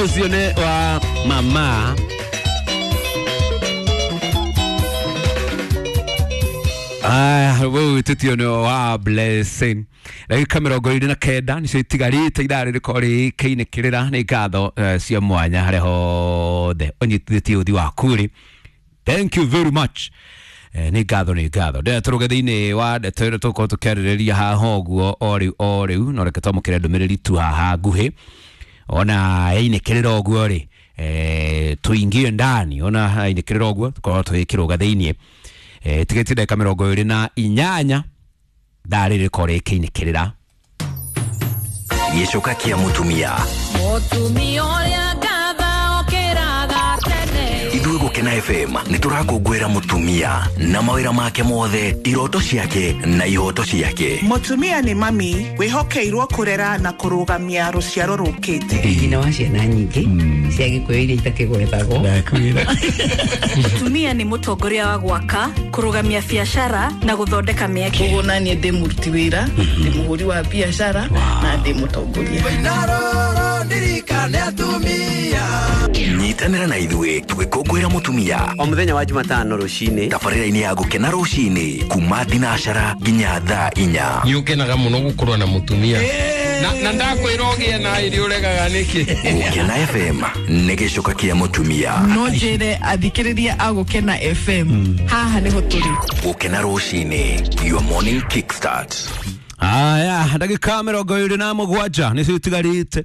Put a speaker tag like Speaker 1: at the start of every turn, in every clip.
Speaker 1: Ũcio nĩ wa mama. Aya, wewe wĩtĩtio nĩ wa Blessing. Ndagĩka 29 nĩcio itigarĩte ithaa rĩrĩkorwo rĩkĩinĩkĩrĩra. Nĩ ngatho cia mwanya harĩa hothe ũnyitithĩtie ũthi waku rĩ. Thank you very much. Nĩ ngatho, nĩ ngatho. Ndĩrenda tũrũge thĩinĩ wa ndeto ĩno tũgũkorwo tũkĩarĩrĩria haha ũguo o rĩu o rĩu, no reke twamũkĩre ndũmĩrĩri tu haha nguhĩ ona yainĩkĩrĩra ũguo rĩ, tuingie ndani ona yainĩkĩrĩra ũguo tũkorwo tũgĩkĩrũga thĩinĩ. Tigĩtie ndagĩka 28 thaa rĩrĩ rĩkorwo rĩkĩinĩkĩrĩra.
Speaker 2: Gĩcoka kĩa mũtumia.
Speaker 3: Mũtumia ũrĩa ngatha okĩraga tene.
Speaker 2: Ithuĩ Gũkena FM nĩ tũrakũngũĩra mũtumia na mawĩra make mothe, iroto ciake na ihoto ciake.
Speaker 4: Mũtumia nĩ mami wĩhokeirwo kũrera na kũrũgamia rũciaro rũkĩte.
Speaker 5: Nyina wa ciana nyingĩ cia Gĩkũyũ iria itakĩgwetagwo.
Speaker 6: Mũtumia nĩ mũtongoria wa gwaka, kũrũgamia biacara na gũthondeka mĩeke.
Speaker 7: Koguo naniĩ ndĩ mũruti wĩra, ndĩ mũhũri wa biacara na ndĩ mũtongoria.
Speaker 2: Nyitanĩra na ithuĩ tũgĩkũngũĩra mũtumia
Speaker 8: o mũthenya wa Jumatano rũcinĩ
Speaker 2: tabarĩra-inĩ ya Gũkena rũcinĩ kuma thinacara nginya thaa 4.
Speaker 9: Nĩ ũkenaga mũno gũkorwo na mũtumia na ndakwĩra ũgĩe na ĩrĩ ũregaga nĩkĩ.
Speaker 2: Gũkena FM nĩ gĩcoka kĩa mũtumia.
Speaker 7: No njĩre athikĩrĩria a Gũkena FM haha nĩho tũrĩ.
Speaker 2: Gũkena rũcinĩ, your morning kickstart.
Speaker 1: Aya, ndagĩka 27 nĩcio itigarĩte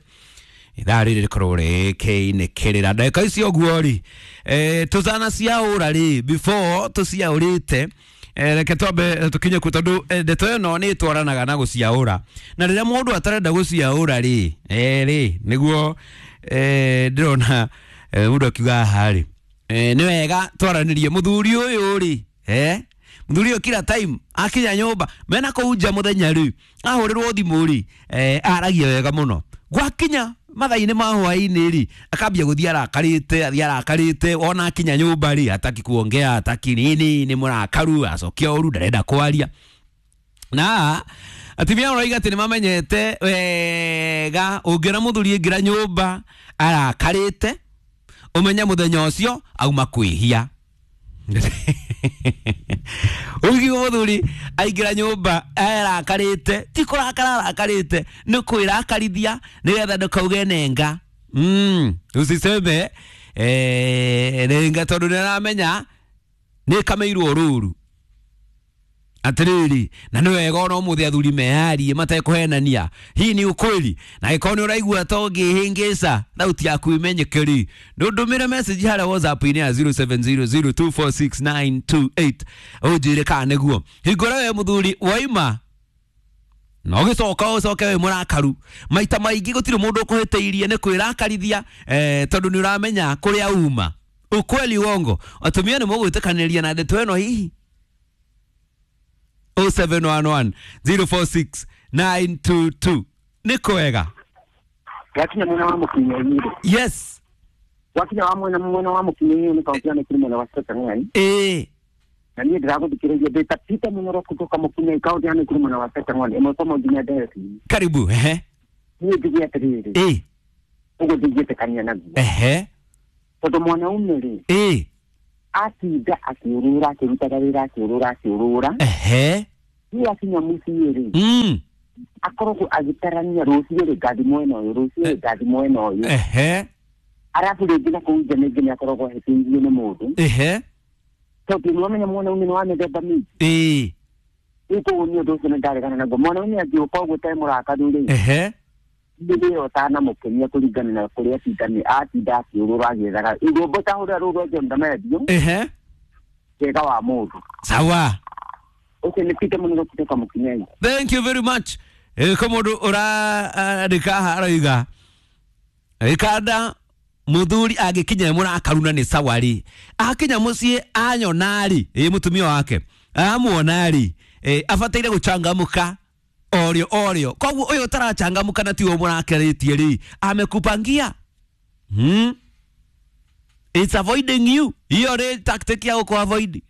Speaker 1: ithaa rĩrĩ rĩkorwo rĩkĩinĩkĩrĩra. Ndagĩka icio ũguo rĩ, tũcana ciaũra rĩ, before tũciaũrĩte, reke twambe tũkinye ku tondũ ndeto ĩno nĩ ĩtwaranaga na gũciaũra, na rĩrĩa mũndũ atarenda gũciaũra rĩ, rĩ nĩguo ndĩrona mũndũ akiuga haha rĩ, nĩ wega twaranĩrie mũthuri ũyũ rĩ, mũthuri ũyũ kila time akinya nyũmba mena kũu nja mũthenya rĩ, ahũrĩrwo thimũ rĩ, aragia wega mũno. Gwakinya mathaa-inĩ ma hwaĩ-inĩ rĩ, akambia gũthiĩ arakarĩte, athiĩ arakarĩte, ona akinya nyũmba rĩ, hataki kuongea, hataki nini, nĩ mũrakaru, acokia ũru, ndarenda kwaria. Na atumia marauga atĩ nĩ mamenyete wega ũngĩona mũthuri aingĩra nyũmba arakarĩte, ũmenye mũthenya ũcio auma kwĩhia. Ũngĩigua mũthuri aingĩra nyũmba arakarĩte, ti kũrakara arakarĩte, nĩ kwĩrakarithia nĩgetha ndũkauge nenga. Usiseme nenga tondũ nĩ aramenya nĩ kameirwo rũru. Atĩrĩrĩ, na nĩ wega ona ũmũthĩ athuri meyarie matekũhenania. Hii ni ukweli. Na angĩkorwo nĩ ũraigua ta ũngĩhĩngĩca thauti yaku imenyeke rĩ, ndũndũmĩre message harĩa WhatsApp-inĩ ya 0700246928 ũnjĩre kana nĩguo. Hingũra we mũthuri waima na ũgĩcoka ũcoke wĩ mũrakaru. Maita maingĩ gũtirĩ mũndũ ũkũhĩtĩirie nĩ kwĩrakarithia, tondũ nĩ ũramenya kũrĩa uma. Ukweli uongo? Atumia nĩ mũgwĩtĩkanĩria na ndeto ĩno hihi? 0711 046 922. Nĩ kwega.
Speaker 10: Wakinya mwena wa mũkinyĩri.
Speaker 1: Yes.
Speaker 10: Wakinya wa mwena wa mũkinyĩri nĩ kaunti ya Nakuru mwena wa Cherangany. Na niĩ ndĩragũthikĩrĩria ndĩ ta Peter Mũnyoro kutoka Mũkinyĩri kaunti ya Nakuru mwena wa Cherangany. Ĩmwe kwa nginya Ndeti.
Speaker 1: Karibu. Ehe.
Speaker 10: Niĩ njuge atĩrĩrĩ. Ũguo ndingĩtĩkania naguo.
Speaker 1: Ehe.
Speaker 10: Tondũ mwanaume rĩ. Atinda akĩũrũra akĩrutaga wĩra akĩũrũra akĩũrũra.
Speaker 1: Ehe.
Speaker 10: Niĩ akinya mũciĩ rĩ. Akoragwo agĩtarania rũciũ rĩ ngathi mwena ũyũ, rũciũ rĩ ngathi mwena ũyũ.
Speaker 1: Ehe.
Speaker 10: Arabu rĩngĩ na kũu nja rĩngĩ nĩ akoragwo ahĩtĩirio nĩ mũndũ.
Speaker 1: Ehe.
Speaker 10: Tondũ nĩwamenya mwanaume nĩ wa mĩthemba mĩingĩ. Rĩu koguo niĩ ũndũ ũcio nĩndaregana naguo. Mwanaume angĩũka ũguo ũtarĩ mũrakaru rĩ.
Speaker 1: Ehe.
Speaker 10: Nĩ ũtanamũkenia kũringana na kũrĩa atinda akĩũrũra agĩethaga. Rwĩmbo ta hũra rũu rwa John Damadio.
Speaker 1: Ehe.
Speaker 10: Wega wa mũndũ.
Speaker 1: Sawa.
Speaker 10: Ũcio nĩ Peter Mũnyoro kutoka Mũkinyĩri.
Speaker 1: Thank you very much. Ko mũndũ ũrandĩka haha aroiga ĩkanda mũthuri angĩkinya mũrakaru na nĩ sawa rĩ, akinya mũciĩ anyona rĩ, mũtumia wake amuona rĩ, abataire gũcangamũka orĩo orĩo. Koguo ũyũ ũtarachangamũka na tiwe mũrakarĩtie rĩ, amekupangia. It's avoiding you. Hiyo nĩ tactic ya gũkũ avoid.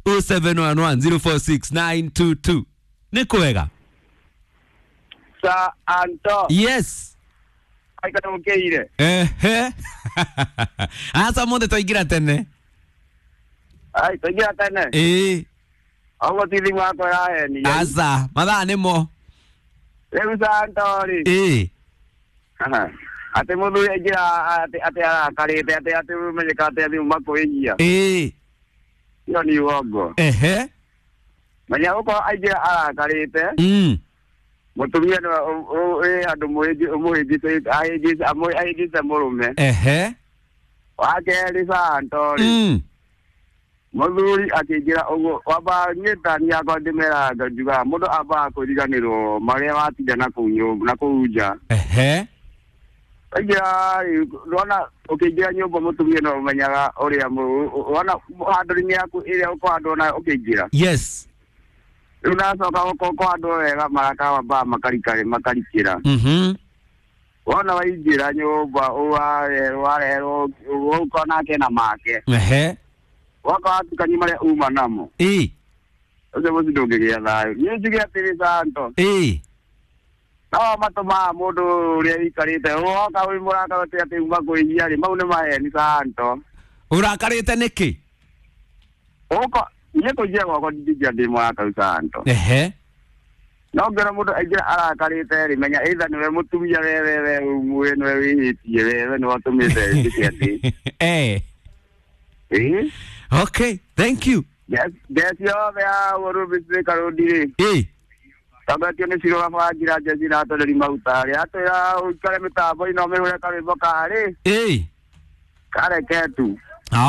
Speaker 1: 0711 046 922. Nĩ kwega.
Speaker 10: Sir Anto.
Speaker 1: Yes.
Speaker 10: Aikana mũkĩire.
Speaker 1: Ehe. Aca mũthĩ twaingĩra tene.
Speaker 10: Ai, twaingĩra tene.
Speaker 1: Ĩĩ.
Speaker 10: Ũguo ti thimũ yakwa ĩrahenia.
Speaker 1: Aca, mathaa nĩmo.
Speaker 10: Rĩu Santo-rĩ.
Speaker 1: Ĩĩ.
Speaker 10: Atĩ mũthuri aingĩra atĩ arakarĩte atĩ ũmenyeka atĩ athiĩ makwĩhia.
Speaker 1: Ĩĩ.
Speaker 10: Ĩyo nĩ uongo.
Speaker 1: Ehe.
Speaker 10: Menya gũkorwo aingĩra arakarĩte. Mũtumia nĩwe wĩ handũ mũhĩngĩcĩte mũrũme.
Speaker 1: Ehe.
Speaker 10: Wa kerĩ Santo-rĩ. Mũthuri akĩingĩra ũguo wambaga niĩ ta niĩ yakwa ndĩmeraga njugaga mũndũ ambaga kũriganĩrwo marĩa watinda na kũu nyũmba na kũu nja.
Speaker 1: Ehe.
Speaker 10: Waingĩra rĩ, wona ũkĩingĩra nyũmba mũtumia no ũmenyaga ũrĩa wona handũ-inĩ yaku ĩrĩa ũkũhandwo nayo ũkĩingĩra.
Speaker 1: Yes.
Speaker 10: Rĩu nacoka ũkũhandwo wega maraka wambaga makarikĩra. Wona waingĩra nyũmba warerwo ũkona nake na make.
Speaker 1: Ehe.
Speaker 10: Waka watukania marĩa uma namo.
Speaker 1: Ĩĩ.
Speaker 10: Ũcio mũciĩ ndũngĩgĩa thayũ. Niĩ njuge atĩrĩ Santo.
Speaker 1: Ĩĩ.
Speaker 10: No matũmaga mũndũ ũrĩa ũikarĩte woka wĩ mũrakara atĩ atĩ uma kwĩhia rĩ, mau nĩ maheni Santo.
Speaker 1: Ũrakarĩte nĩkĩ?
Speaker 10: Ũko niĩ kũingĩra gwakwa ndingĩingĩra ndĩ mũrakaru Santo.
Speaker 1: Ehe.
Speaker 10: No ngĩona mũndũ aingĩra arakarĩte rĩ, menya either nĩwe mũtumia we we nĩwe wĩhĩtie we nĩwe ũtũmĩte njĩke atĩ.
Speaker 1: Eh.
Speaker 10: Ĩĩ.
Speaker 1: Okay, thank you.
Speaker 10: Njeci yothe ya Ũrũmbĩ Karũndi rĩ.
Speaker 1: Ĩĩ.
Speaker 10: Tongoretio nĩ Ciro Gabangira njeci na atwarĩri maguta rĩ, atwĩra ũikare mĩtambo-inĩ ũmĩhũre karwĩmbo karĩ.
Speaker 1: Ĩĩ.
Speaker 10: Kareke tu.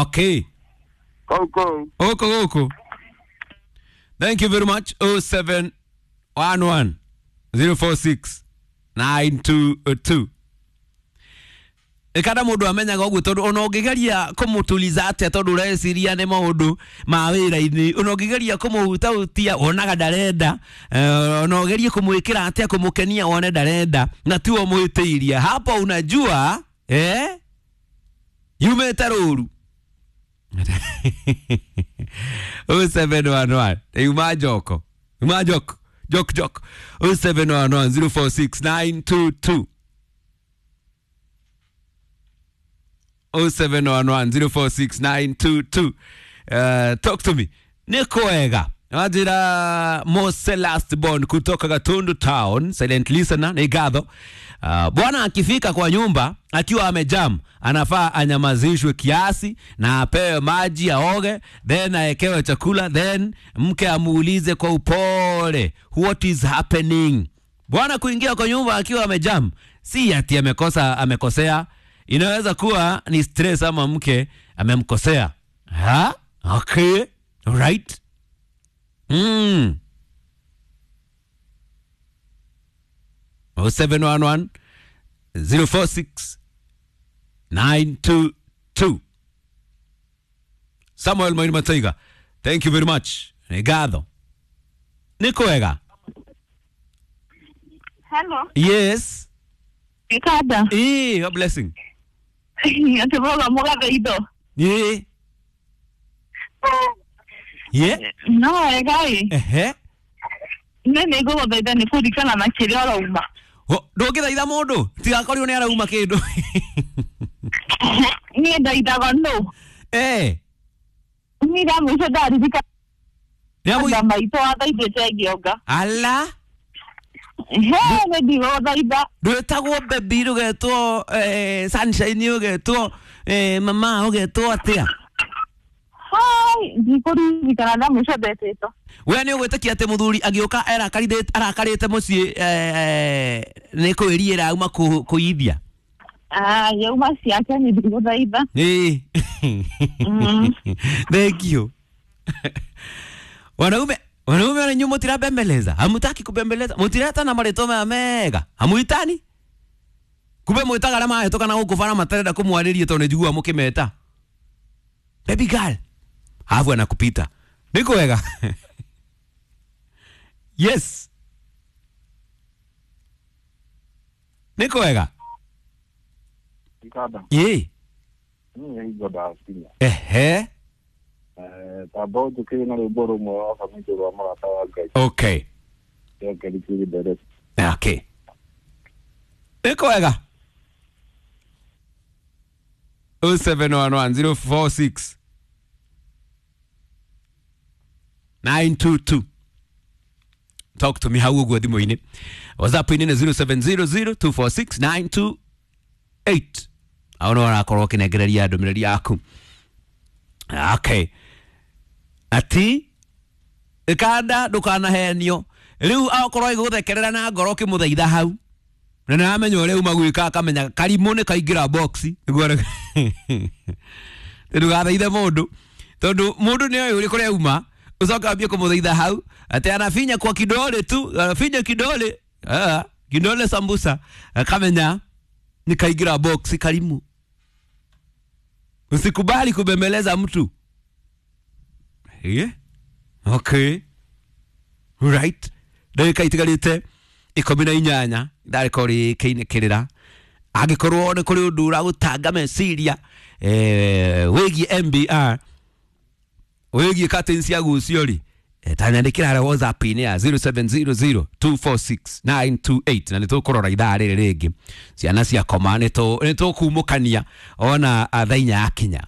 Speaker 1: Okay.
Speaker 10: Kũu kũu.
Speaker 1: Gũkũ gũkũ. Thank you very much. 0711 046 922. Ikada mundu amenyaga uguo tondu ona ungigeria kumutuliza atia tondu ureciria ni maundu ma wira-ini, ona ungigeria kumuhutahutia wonaga ndarenda, ona ugerie kumwikira atia kumukenia wone ndarenda na tiwe mwitiiria hapo, unajua yumite ruru. 0711 yuma joko yuma joko jok jok 0711 046 922 0711 046 922. Talk to me. Niko wega. Wajira Mose last born kutoka Gatundu Town, silent listener ni gatho. Bwana akifika kwa nyumba akiwa amejam, anafaa anyamazishwe kiasi na apewe maji aoge, then aekewe chakula, then mke amuulize kwa upole what is happening. Bwana kuingia kwa nyumba akiwa amejam, si ati amekosa, amekosea. Inaweza kuwa ni stress ama mke amemkosea. Ha? Okay. Right. 0711 046 922. Samuel Moini Mataiga, thank you very much. Ngatho. Nĩ kwega?
Speaker 11: Hello.
Speaker 1: Yes.
Speaker 11: Ikada.
Speaker 1: Eh, a blessing.
Speaker 11: Atiboga mugathe indo.
Speaker 1: Ĩĩ. Ye?
Speaker 11: No wega ĩ.
Speaker 1: Ehe.
Speaker 11: Nĩ nĩngũgũthaitha nĩ kũririkana na kĩrĩa ũrauma.
Speaker 1: Ndũngĩthaitha mũndũ tigakorirwo nĩ arauma kĩndũ.
Speaker 11: Niĩ ndaithaga nũ.
Speaker 1: Eh.
Speaker 11: Niĩ rĩa mũico ndaririkana maitũ athaithĩte ngĩonga.
Speaker 1: Ala.
Speaker 11: He, nĩ ndigũgũthaitha.
Speaker 1: Ndwĩtagwo baby, ũgetwo sunshine, ũgetwo mama, ũgetwo atĩa?
Speaker 11: Hai, ndikũririkana rĩa mũico ndetĩtwo.
Speaker 1: We nĩ ũgwĩtĩkia atĩ mũthuri agĩũka arakarĩte mũciĩ nĩ kwĩriĩra auma kũithia?
Speaker 11: Ah, yauma ciake nĩ ndigũthaitha.
Speaker 1: Ĩĩ. Thank you. Wanaume wanyu mutirabembeleza, hamutaki kubembeleza, mutireta na marĩtwa maya mega, hamuitani? Kumbe mwĩtaga arĩa mahĩtũka na gũkũ bara matarenda kũmwarĩria tondũ nĩ njiguaga mũkĩmeta. Baby girl, hafu anakupita. Nĩ kwega? Yes. Nĩ kwega?
Speaker 12: Ikada.
Speaker 1: Ĩĩ.
Speaker 12: Niĩ hingo ndakinya.
Speaker 1: Ehe.
Speaker 12: Tamba ũnjũkĩrie na rwĩmbo rũmwe rwa Bamĩndũ rwa Mũrata wa Ngai.
Speaker 1: Okay.
Speaker 12: Okay.
Speaker 1: Okay. Nĩ kwega? 0711 046 922. Talk to me hau ũguo thimũ-inĩ. WhatsApp-inĩ nĩ 0700 246 928. Au no ũrakorwo ũkĩnengereria ndũmĩrĩri yaku. Okay, ati ikanda ndũkanahenio rĩu akorwo ĩgũthekerera na ngoro ũkĩmũthaitha hau na nĩamenya ũrĩa uma gwĩka akamenya karimũ nĩ kaingĩra box nĩguo ndũgathaithe mũndũ tondũ mũndũ nĩ oĩ ũrĩ kũrĩa uma ũcoke wambie kũmũthaitha hau atĩ anafinya kwa kidole tu, anafinya kidole, ah, kidole sambusa, akamenya nĩ kaingĩra box karimu. Usikubali kubembeleza mtu. Yeah. Okay. Right. Ndagĩka itigarĩte 18 ndarĩkorwo rĩkĩinĩkĩrĩra angĩkorwo nĩ kũrĩ ũndũ ũragũtanga meciria wĩgiĩ MBR, wĩgiĩ curtains cia gucio rĩ, tanyandĩkĩra harĩa WhatsApp-inĩ ya 0700 246 928 na nĩ tũkũrora ithaa rĩrĩ rĩngĩ ciana ciakoma nĩ tũkumũkania ona thaa 4 yakinya.